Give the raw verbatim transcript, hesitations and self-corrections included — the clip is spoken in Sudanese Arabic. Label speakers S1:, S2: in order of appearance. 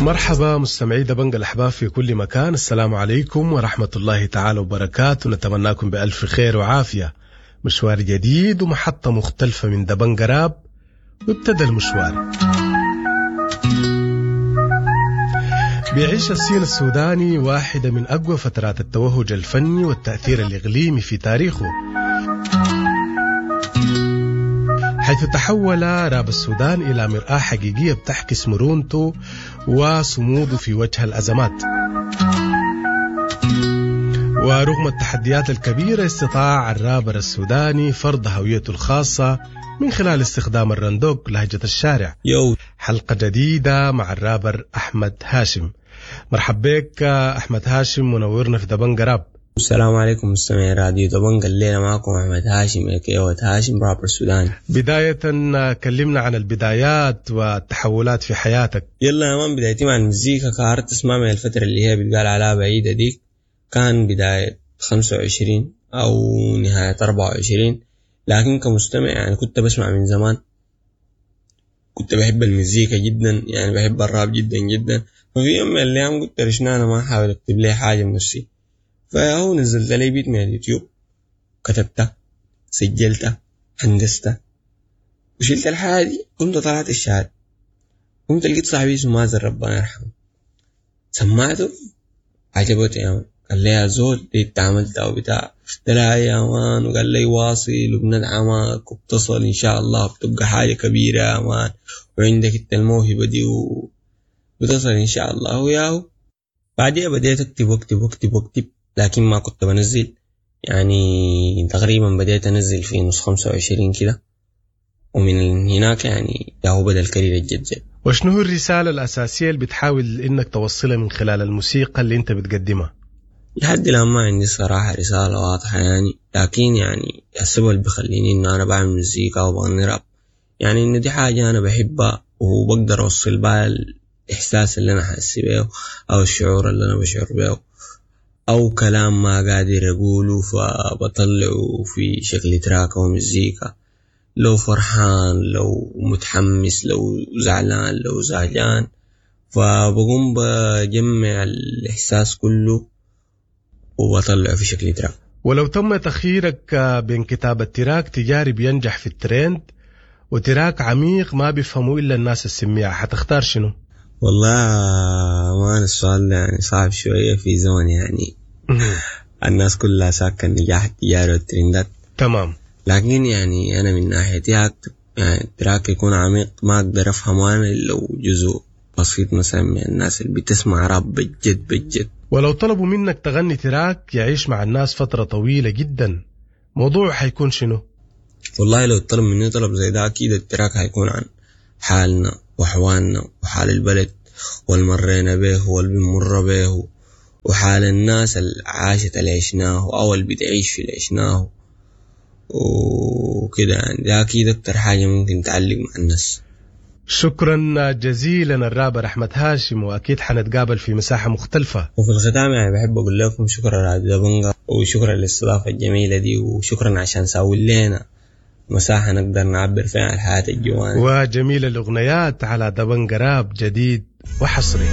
S1: مرحبا مستمعي دبنجة الأحباب في كل مكان، السلام عليكم ورحمة الله تعالى وبركاته. نتمناكم بألف خير وعافية. مشوار جديد ومحطة مختلفة من دبنجة راب، وابتدى المشوار. بيعيش ال scene السوداني واحدة من أقوى فترات التوهج الفني والتأثير الإقليمي في تاريخه، حيث تحول راب السودان إلى مرآة حقيقية بتعكس مرونته وصموده في وجه الأزمات. ورغم التحديات الكبيرة استطاع الرابر السوداني فرض هويته الخاصة من خلال استخدام الرندوق لهجة الشارع.
S2: Yo.
S1: حلقة جديدة مع الرابر أحمد هاشم. مرحب بك أحمد هاشم، منورنا في دبنجة راب.
S2: السلام عليكم مستمعي راديو دبنجة، الليلة معكم أحمد هاشم A K A هاشم رابر سوداني.
S1: بداية كلمنا عن البدايات والتحولات في حياتك.
S2: يلا يا man، بدايتي مع المزيكا ك artist ما من الفترة اللي هي بتقال عليها بعيدة ديك، كان بداية خمسة وعشرين أو نهاية أربعة وعشرين، لكن كمستمع يعني كنت بسمع من زمان، كنت بحب المزيكا جدا، يعني بحب الراب جدا جدا. ففي يوم من الأيام قلت ليش أنا ما أحاول أكتب لي حاجة من نفسي؟ فهو نزلت لي beat من اليوتيوب، كتبتها، سجلتها، هندستها، وشلت الحاجة دي، قمت طلعت الشارع، قمت لقيت صاحبي اسمه مازن ربنا يرحمه، سمعته، عجبته يا man. قال لي يا زول دي انت عملتها وبتاع، قلت له يا man، وقال لي واصل وبندعمك وبتصل ان شاء الله بتبقى حاجة كبيرة يا man، وعندك انت الموهبة دي وبتصل ان شاء الله. وياهو بعديها بديت اكتب واكتب واكتب واكتب، لكن ما كنت بنزل. يعني تقريبا بديت انزل في نص خمسة وعشرين كده، ومن هناك يعني ياهو بدأ ال career الجد جد.
S1: وشنو هو الرسالة الأساسية اللي بتحاول إنك توصلها من خلال الموسيقى اللي أنت بتقدمها؟
S2: لحد الآن ما عندي صراحة رسالة واضحة يعني، لكن يعني السبب اللي بخليني إنه أنا بعمل مزيكا وبغني راب يعني إنه دي حاجة أنا بحبها وبقدر أوصل بها الإحساس اللي أنا حاسس بيه أو الشعور اللي أنا بشعر بيه أو كلام ما قادر أقوله فبطلعه في شكل track أو مزيكا، لو فرحان، لو متحمس، لو زعلان، لو زهجان، فبقوم بجمع الإحساس كله وبطلعه في شكل track.
S1: ولو تم تخييرك بين كتابة track تجاري بينجح في الترند و track عميق ما بيفهموا إلا الناس السميعة، حتختار شنو؟
S2: والله ما السؤال ده يعني صعب شوية في زمن يعني الناس كلها ساكة النجاح التجاري والترندات.
S1: تمام
S2: لكن يعني أنا من ناحيتي هكتب يعني track يكون عميق ما أقدر أفهمه أنا إلا لو جزء بسيط مثلا من الناس اللي بتسمع راب بجد بجد.
S1: ولو طلبوا منك تغني track يعيش مع الناس فترة طويلة جدا، موضوع حيكون شنو؟
S2: والله لو طلب مني طلب زي ده أكيد ال track هيكون عن حالنا وأحوالنا وحال البلد والمرينا به واللي بنمر به وحال الناس اللي عاشت اللي عشناه أو اللي بتعيش في اللي عشناه وكده. يعني ده أكيد أكتر حاجة ممكن تعلق مع الناس.
S1: شكرا جزيلا الرابر أحمد هاشم، وأكيد حنتقابل في مساحة مختلفة.
S2: وفي الختام يعني بحب أقول لكم شكرا راديو دبنجة، وشكرا للاستضافة الجميلة دي، وشكرا عشان ساوي لنا مساحة نقدر نعبر فيها عن الحياة الجوانا.
S1: وجميل الأغنيات على دبنجة راب، جديد وحصري.